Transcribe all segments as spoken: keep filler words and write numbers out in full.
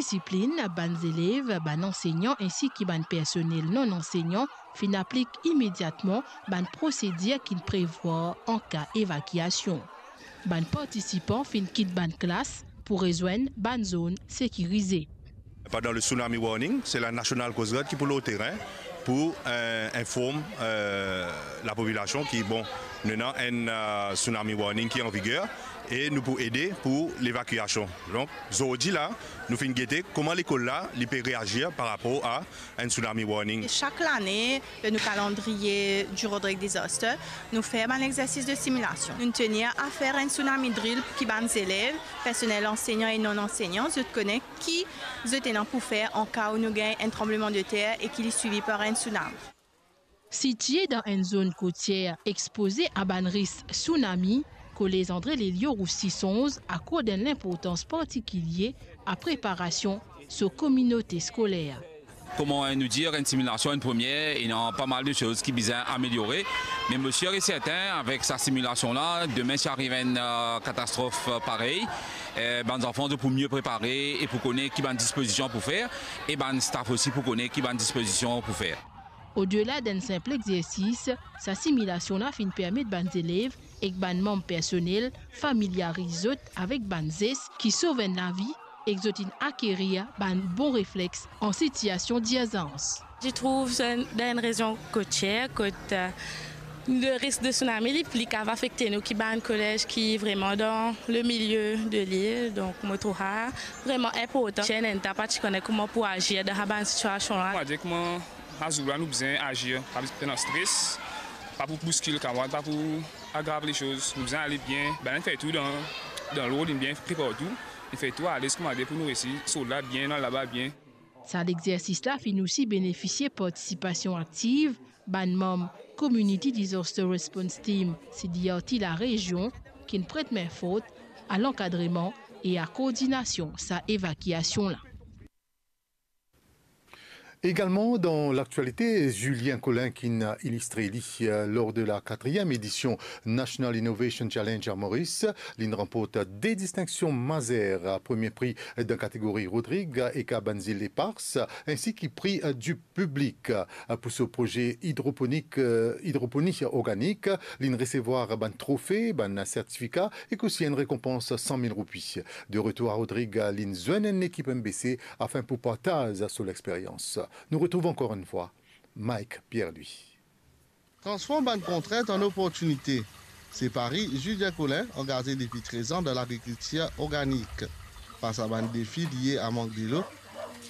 disiplinn, bann zelev, bann ansegnan ensi ki bann personel non ansegnan finn aplik imediatman bann prosedir ki'nn prevwar an ka evakiasion. Bann partisipan finn kit bann klas pou rezwenn bann zone sekirize. Pandan le tsunami warning, se la National Coast Guard ki pou lor terin pou, eh, inform, eh, lapopilasion ki, bon, nou ena enn, eh, tsunami warning ki an viger e nou pou ede pou levakiasion. Donk, zordi la, nou finn gete kouma lekol la, li pe reazir par rapor a enn tsunami warning. Sak lane, dan nou kalandriye du Rodrigues Disaster, nou fer bann exersis de similasion. Nou'nn tenir a fer enn tsunami drill pou ki bann zelev, personel ansegnan e non ansegnan, zot kone ki zot ena pou fer an ka ou nou gagn enn tranblemandeter e ki li swivi par enn tsunami. Sitie dan enn zone kotier expoze a bann risk tsunami, Kolez André Lelio Roussy Sonz akord enn linportans partikilie a preparasion so kominote skoler. Kouma nou dir, enn similasion, enn premie, ena pa mal de soz ki bizin ameliore. Me mo sir e sertin, avek sa similasion la, demin si ariv enn, eh, katastrof, eh, parey, eh, bann zanfan zot pou mie prepare e pou kone ki bann dispozision pou fer, e bann staff osi pou kone ki bann dispozision pou fer. Odela d'enn sinp exersis, sa similasion la finn permet bann zelev ek bann manm personel familiariz zot avek bann zes ki sov enn lavi ek zot inn akerir bann bon reflex an sitiasion dirzans. Je trouve, euh, dans une région côtière, kot, euh, le risque de tsunami, li pli kav afekte nou ki bann kolez ki vreman dan le milieu de l'île. Donk, mo trouv sa vreman inportan. Enn ta pa ti kone kouma pou azir dan sa bann sitiasion la. Mo dir kouma sa zour la nou bizin azir, pa bizin pran stres, pa pou bouskil kamarad, pa pou agrav lesoz. Nou bizin ale bien, bann fer tou dan, dan lord, bien prepar tou. Nou fer tou alez kouma dir pou nou resi sort la bien, al laba bien. Sa lexersis la finn osi benefisie partisipasion aktiv bann manm Community Disaster Response Team, C D R T larezion, ki'nn pret min fort a lankadreman e a koordinasion sa evakiasion la. Également dans l'actualité, Julien Collin ki'nn ilistre li, euh, lors de la quatrième édition National Innovation Challenge à Maurice, li'nn ranport de distinksion mazer, premie pri dan kategori Rodrig ek a bann zil epars, ensi ki pri, euh, du piblik, euh, pou so proze idroponik, euh, idroponi organik. Li'nn resevwar bann trofe, bann sertifika ek osi enn rekonpans san mil roupi. De retour a Rodrig, li'nn zwenn enn lekip M B C afin pou partaz so lexperyans. Nou retrouv ankor enn fwa Mike Pierre-Louis. Transform bann kontrint an oportinite. Se pari Julien Collin, angaze depi trez an dan lagrikiltir organik. Fas a bann defi lie a mank delo,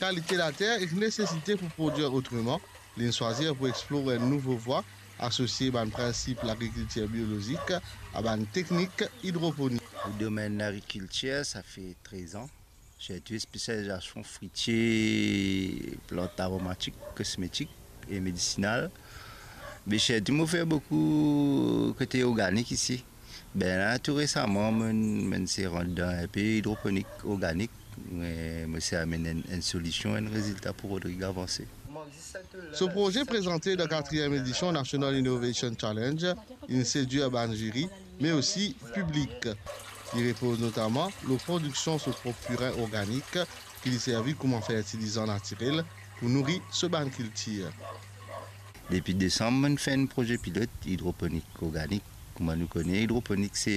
kalite later ek nesesite pou prodwir otreman, li'nn swazir pou explor enn nouvo vwa, asosie bann prinsip lagrikiltir biolozik a bann teknik idroponik. Domenn lagrikiltir, sa fer trez an. Sirtou spesializasion fritie, plant aromatik, kosmetik e medisinal. Me sirtou mo fer boukou kote organik isi. Be la, tou resaman, mo'nn, mo'nn se rant dan inpe idroponik organik. Me mo se amenn enn, enn solision, enn rezilta pou Rodrig avanse. So proze prezante dan katriem edision National Innovation Challenge, inn sedwir bann ziri, me osi piblik. Li repoz notaman lor prodiksion so prop pirin organik, ki li servi kouma fertilizan natirel pou nouri so bann kiltir. Depi desam, mo'nn fer enn proze pilot idroponik organik. Kouma nou kone, idroponik se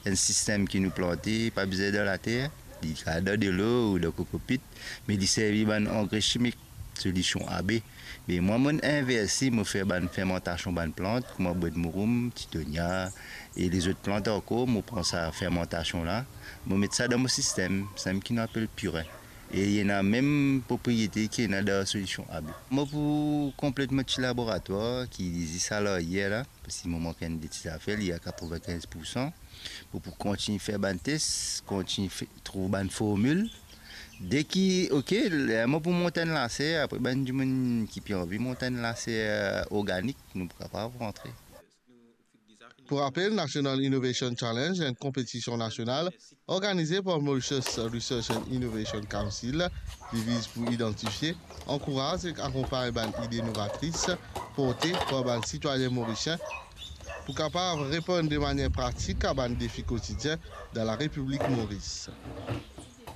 enn sistem ki nou plante, pa bizin dan later, li kapav dan delo ou dan kokopit, me li servi bann angre simik, solision A B. Me mwa, mo'nn inverse, mo fer bann fermantasion bann plant, kouma bwedmouroum, titonia, e lezot plant ankor, mo pran sa fermantasion la, mo met sa dan mo sistem, sa mem ki nou apel pirin. E ena mem propriete ki ena dan solision A B. Mo pou konplet mo ti laboratwar ki zis a laryer la, parski mo mank enn de ti zafer, li a katrevinkinz poursan. Mo pou kontign fer bann tes, kontign fe-, trouv bann formil. Deki, ok, ler mo pou mont enn laser, apre bann dimoun ki pe anvi mont enn laser, euh, organik, nou pou kapav rantre. Pou rapel, National Innovation Challenge, enn konpetision nasional organize par Mauritius Research and Innovation Council, li viz pou idantifie, ankouraz ek akonpagn bann ide novatris porte par bann sitwayin morisien pou kapav reponn de manier pratik a bann defi kotidien dan Larepiblik Moris.